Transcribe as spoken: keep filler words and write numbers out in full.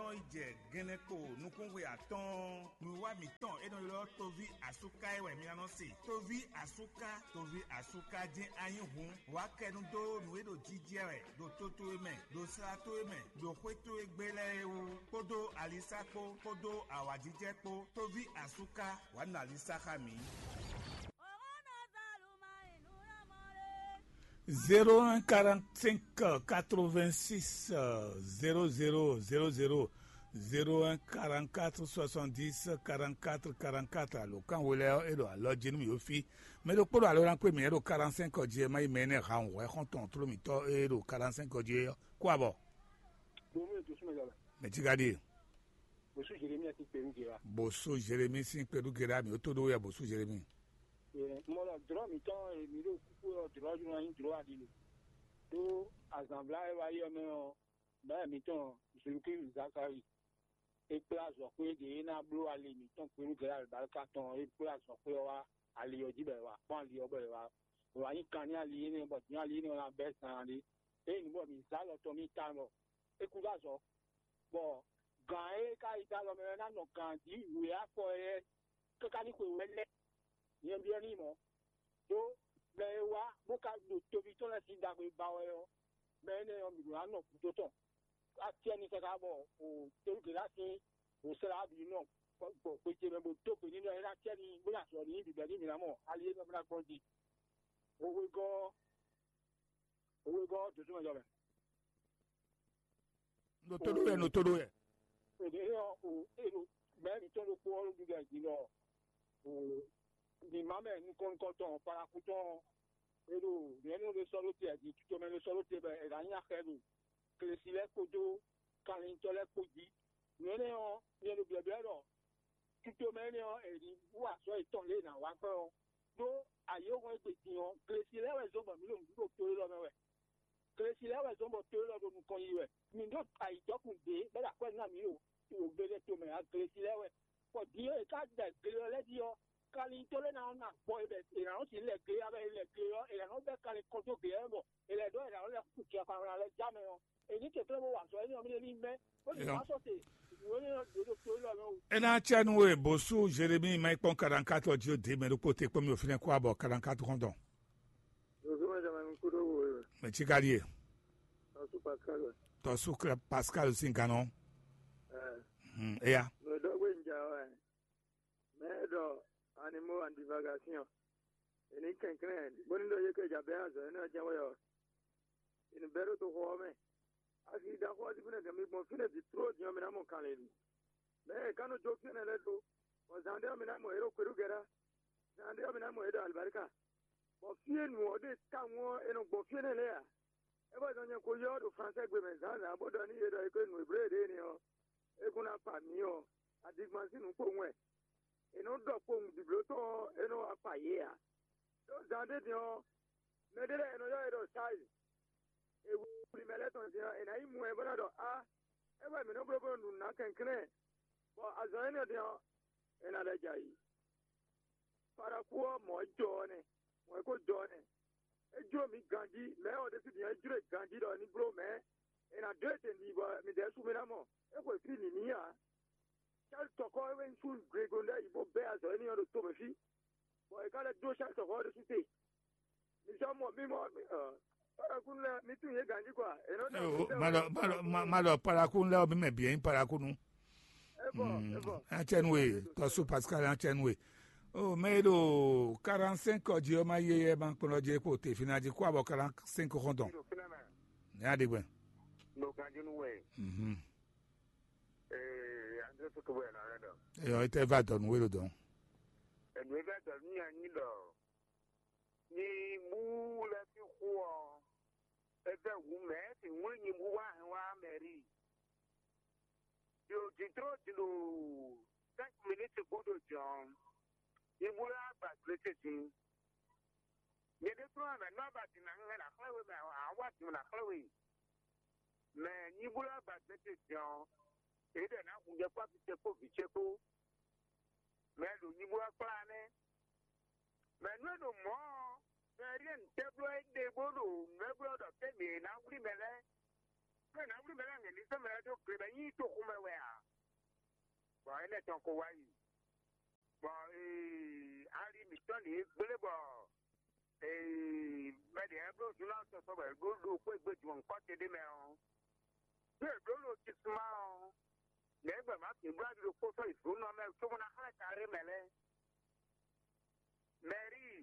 Ɔ́ yi jɛ gɛnɛkpo nukúnxwe atɔ́ɔ́n, nǔwiwa mǐtɔn e nɔ ylɔ́ tóví asúká é wɛ mi ná nɔ se. Tóví asúká, tóví asúká jɛ́n a nyí hǔn, wǎ kɛ nu dó nǔ e ɖo jijɛ wɛ ɖo to towe mɛ, ɖo sla towe mɛ, ɖo xwé towe gbe lɛ́ɛ é wú, kpódó alisá kpó, kpódó awǎjijɛ kpó. Tóví asúká, wǎ nɔ alisá xá mǐ. Zéro un quarante-cinq quatre-vingt-six zéro zéro zéro zéro, zéro un quarante-quatre soixante-dix quarante-quatre quarante-quatre. Alo kan we lɛ́ɛ ɔ́, é ɖo alɔ jí nú mì ɖo fí. Mɛ ɖokpó ɖo alo ná kpé mǐ é ɖo quarante-cinq ɔ́ jí, é má yi mɛ énɛ́ ha wǔ xɔ́ntɔn tló mǐtɔn e ɖo quarante-cinq ɔ́ jí é ɔ́. Kó abɔ. Domi e dusúmɛ jɔ lɛ. Mɛ tí ka ɖíe. Bosú Jeremi ati kpɛnu jɛ wa. Bosú Jeremi sín kpɛnu gɛɖá mǐ ó tó ɖó wɛ Bosú Jeremi. Mɔlɔ drɔ mǐtɔn e mǐ ɖo kúkú ɔ drɔ ɔ́ nɔ nyí drɔ aɖilo. Ɖó azǎnvla e wá yi ɔ́ mɛ ɔ́, bɛ́ mǐtɔn Zulukílu Zakali, é kplá azɔ̌xwé ɖě é ná bló ali mǐtɔn kpɛnu gɛɖá alibáríka tɔn, é kplá azɔ̌xwé ɔ́ wá ali ɔ́ jí bɔ è wǎ kpɔ́n ali ɔ́ bɔ è wá è wǎ nyí kan nú ali énɛ́ bɔ din ali énɛ́ ɔ́ ná bɛ́ zan ɖé. Ényí bɔ mǐ zá alɔ tɔn mì tawun bɔ é kú ɖó azɔ̌, bɔ gǎn e ka yi dó alɔ mɛ ɔ́ ná nɔ gǎn jí wě afɔ lɛ́ɛ káká ní xwe wɛ lɛ́ɛ. Nyɛ ɖyɔ́ n'i mɔ̌, ɖó mɛ e wá bó ka ɖo toví tɔn lɛ́ɛ sín ɖagbe ba wɛ ɔ́, mɛ énɛ́ ɔ́, mǐ ɖó ná nɔ gǔdo tɔn. Acɛ ní káká bɔ o tolúgělá sín wǒsla bǐ nɔ gbɔ xwe ce mɛ bó dó gbe n'i ɖɔ é ná acɛ ní bó ná azɔ̌ ní bǐbɛ́ ní mǐ ná mɔ ali e nɔ ná gbɔn jí. Wěwegɔ́ ɔ́, wěwegɔ́ ɔ́ dǒdó mɛ jɔ mɛ. Nɔ tó ɖó yɛ, nɔ tó ɖó yɛ. Èdè ɔ o èrò mɛ mǐtɔn ɖokpó ɔ́ ɖo ɖiɖɔ jí nɔ o mǐmá mɛ nukɔn nukɔntɔn parakútɔn e ɖo nyɛ̌nu ɖé sɔ́ ɖó te jí tutomɛ ɖé sɔ́ ɖó te bɔ è nǎ nyi axɛ ɖo glesi lɛ́ɛ kpódó kanlintɔ́ lɛ́ɛ kpó jí. Nǔ énɛ́ ɔ́, nyɛ ɖo byɔ̌byɔ́ ɖɔ tutomɛ énɛ́ ɔ́, è nǐ wú azɔ̌ yětɔn lě e è nǎ wa gbɔn ɔ́, ɖó ayǐhɔ́ngɔ́ e gbe din ɔ́, glesi lɛ́ɛ wɛ zɔ́n bɔ mǐ ɖo nǔɖuɖu to élɔ́ mɛ wɛ. Glesi lɛ́ɛ wɛ zɔ́n bɔ to élɔ́ ɖo nukɔn yi wɛ. Mǐ ɖo ayǐjɔkun ɖě bɔ é ɖo akwɛ́ ná mǐ ɖo wǒgbéɖé tomɛ ǎ. Glesi lɛ́ɛ wɛ. Bɔ din e è ká ɖɛ gle ɔ́ lɛ́ɛ jí ɔ́, kanlin to lɛ́ɛ ná nɔ na gbɔ e bɔ è nǎ nɔ sixú lɛ gle ɔ́, bɔ è lɛ gle ɔ́, è nǎ nɔ bɛ́ kanlin kɔn dó gle ɔ́ mɛ bɔ è lɛ ɖɔ è nǎ nɔ lɛ́ kú jɛ kanlin lɛ́ɛ já mɛ ɔ́, è ní kɛnklɛ́n bó wa azɔ̌ énɛ́ ɔ́ mì ní mɛ, bó ní wá sɔ́ te nǔ énɛ́ ɔ́ ɖě ɖo to élɔ́ mɛ o. É ná cɛ nú we bó sú Jeremíi má yi kpɔ́n kaɖankátɔ jí ó dě mɛ ɖokpó te kpɔ́n mì ò fínɛ́ kó abɔ kaɖankátɔ xɔ́ntɔn. Zozo mɛ jama mi kudo wo e. Mɛ tsi ka ɖie. Tɔsu Pascal. Tɔsu Pascal sin ganɔ. Ɛɛ. Hmm, eya. Mɛ dɔ gbe nja wa. Mɛ dɔ animaux en divagation. Eni kɛnklɛn boni dɔ ye ke ja bɛ azɔ ene jɛ wɛ ɔ. Eni bɛ ɖo to xɔ mɛ. Asi da xɔ asi fine gɛmi gbɔn fine bi tro diɔ mi na mɔ kanlin. Mɛ kanu jo fine lɛ do. Bɔ zan de mi na mɔ ero kweɖu gɛra. Zan de mi na mɔ edo alibarika. Bɔ fie nu ɔ ɖe tawun ɔ e nɔ gbɔ fie nɛ lɛ a? É bɔ zɔn nyɛ ko yɔ ɖo fransɛ gbe mɛ zǎnzǎn bó ɖɔ n'i yě ɖɔ é ko nu Ebléwu ɖě énɛ́ ɔ́, é kún ná kpa mǐ ɔ́, adigban sín nǔ kpowun wɛ. È nɔ ɖɔ kpowun bǐbló tɔn ɔ́, é nɔ wá kpa yě ǎ. Đó zan ɖé din ɔ́, mɛ ɖé lɛ́ɛ è nɔ ylɔ́ yě ɖɔ Sáyi. È wlí mɛ lɛ́ɛ tɔn din ɔ́, è nǎ yi mɔ ɛ bó ná ɖɔ á, é wɛ mǐ nɔ bló bó nɔ ɖu nǔ ná kɛnklɛ́n, bɔ azɔn énɛ́ din ɔ́, è nǎ lɛ́ jɛ ayǐ. Paraku ɔ́, mɔ̌ jɔ ɔ́ nɛ́, mɔ̌ e ko jɔ ɔ́ nɛ́. É jló mǐ ganjí, mɛ̌ ɔ́ ɖésú din ɔ́, é jló e ganjí ɖɔ ní bló mɛ̌ è nǎ dó etɛn ɖi bɔ midɛɛ sú mì ná mɔ. É xwe fí nǐ n'i ǎ. Cálítɔkɔ́ é wɛ nyí sú glego ɖ'ayǐ bó bɛ́ azɔ̌ énɛ́ ɔ́ ɖo tomɛ fí, bɔ è ka lɛ́ dó cálítɔkɔ́ ɔ́ ɖésú te. Mi sɔ́ mɔ mì mɔ ɔ́, Parakúnu lɛ́ɛ, mi tunwun yě ganjí kɔ a? È nɔ ɖɔ Eyo, ma ɖɔ ma ɖɔ ma- ma ɖɔ parakúnu lɛ́ɛ ɔ́, mí mɛ bǐ nyí parakúnu. É bɔ é bɔ. Atsɛnue, tɔsu Pascal atsɛnue. O mɛ e ɖo quarante-cinq ɔ́ jí ɔ́, ma yé yɛ ma kplɔ́n jí kpo te fina jí kó abɔ quarante-cinq xɔntɔn. Ní aɖe gbɛ. Ɖo ganjinu wɛ. Mhm. Ee, André Sotobo yɛ na lɛ dɔ. Eyɔ, ete va dɔ nǔ wélo dɔn. Enu e va dɔ nú nyi anyi dɔ nyi bú lɛ fi xu ɔ, e vɛ wu mɛ si ŋwlí nyi bú wá hɛn wá mɛ ri. Yo jǐ tró jǐ ɖo cinq minutes gúdo jɔ̌n. Nyibú lɛ́ wá gba glete din. Nyɛ ɖésú ɔ́, mɛ̌ nɔ ba din ná hɛn ná xlɛ́ we mɛ ǎ wá din ná xlɛ́ we. Mɛ nyibú lɛ́ wá gba glete din ɔ́, é ɖɛ ná hun jɛ kpó afi ce kpó vǐ ce kpó. Mɛ ɖo nyibú wá kplá nɛ́. Mɛ nú e ɖo mɔ̌ ɔ́, mɛ ɖíe ntɛ́ bló é ɖe bó ɖo nǔ e bló ɖɔ té mǐ ná wlí mɛ lɛ́ɛ. Mɛ ná wlí mɛ lɛ́ɛ hɛn ní sɔ́ mɛ lɛ́ɛ dó gle bɔ é nyí toxo mɛ wɛ ǎ. Énɛ́ tɔn ko wá yi. Bɔ ee, ali mǐtɔn ɖě gblé bɔ ee, mɛ ɖě lɛ́ɛ bló zunlá sɔsɔ bɔ è ɖó ɖo xwé gbe jǔmɔ kɔ́ te ɖé mɛ ɔ́, ɖó è ɖǒ ɖo Kisuma ɔ́, lɛ̌ gbɛ má sǐn bló ali ɖokpó sɔ́ yi zǒnɔ mɛ cóbó ná xlɛ́ ka ɖé mɛ lɛ́ɛ. Mɛ̌ri